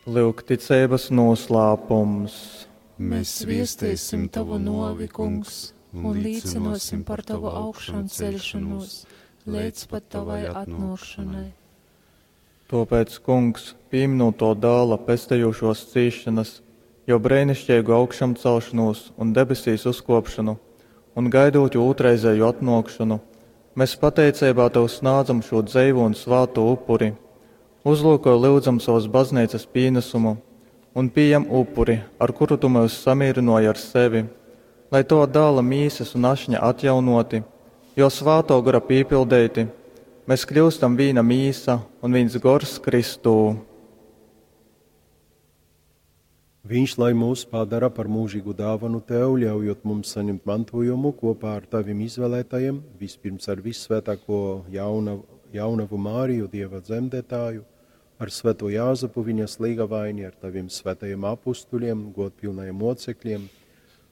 Lyuk ticeibas noslēpums. Mēs viestēsim tavu novi, kungs, un līcinosim par tavu augšanceļšanos līdz pat tavai atnākšanai. Tāpēc, kungs, pieminot to dēla pestējošos cīšanas, jo brēnišķīgu augšamcelšanos un debesīs uzkopšanu, un gaidot jo otrreizēju atnākšanu, mēs pateicībā tev snādzam šo dzeivu un svāto upuri. Uzlūko lūdzam savas baznīcas pienesumu un pieņem upuri, ar kuru tu mūs samierināji ar sevi, lai to dēla mīsas un ašņa atjaunoti, jo svāto gara pīpildēti, mēs kļūstam vīna mīsa un viens gors Kristū. Viņš lai mūs padara par mūžīgu dāvanu tev, ļaujot mums saņemt mantojumu kopā ar taviem izvēlētajiem, vispirms ar vissvētāko jaunavu, jaunavu Māriju, Dieva dzemdētāju, ar svēto Jāzepu viņas līgavaini, ar taviem svētajiem apustuļiem, godpilnajiem mocekļiem,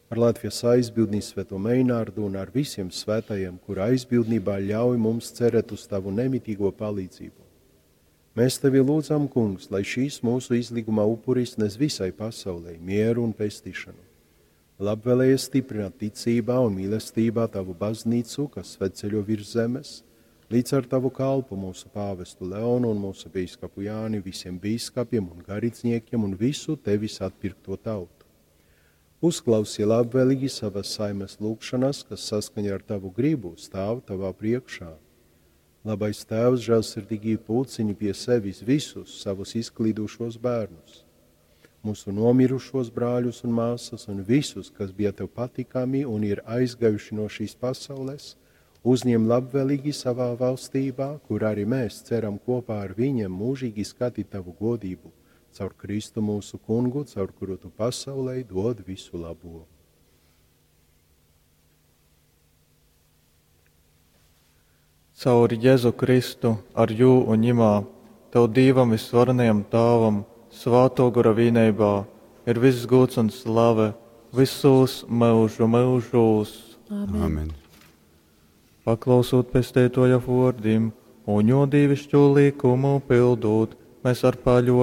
ar Latvijas aizbildni svēto Meinārdu un ar visiem svētajiem, kur aizbildnībā ļauj mums cerēt uz tavu nemitīgo palīdzību. Mēs tevi lūdzam, kungs, lai šīs mūsu izlīguma upuris nes visai pasaulē mieru un pestīšanu. Labvēlējies stiprināt ticībā un mīlestībā tavu baznīcu, kas svētceļo virs zemes, līdz ar tavu kalpu mūsu pāvestu Leonu un mūsu bīskapu Jāni, visiem bīskapiem un garīdzniekiem un visu tevis atpirkto tautu. Uzklausi labvēlīgi savas saimes lūgšanas, kas saskaņā ar tavu gribu stāv tavā priekšā. Labais Tēvs žēlsirdīgi pulciņi pie sevis visus savus izklīdušos bērnus, mūsu nomirušos brāļus un māsas un visus, kas bija tev patikami un ir aizgājuši no šīs pasaules, uzņem labvēlīgi savā valstībā, kur arī mēs ceram kopā ar viņiem mūžīgi skatīt tavu godību, caur Kristu mūsu kungu, caur kuru tu pasaulē dod visu labo. Caur Jēzu Kristu, ar jū un ņimā, tev Dīvam visvarenajam Tāvam, svāto gora vīneibā, ir viss gods un slave visos mūžu mūžos. Amen. Amen. Paklausot pestētoja vārdim un jo dīvišķo likumu pildot, mēs ar paļo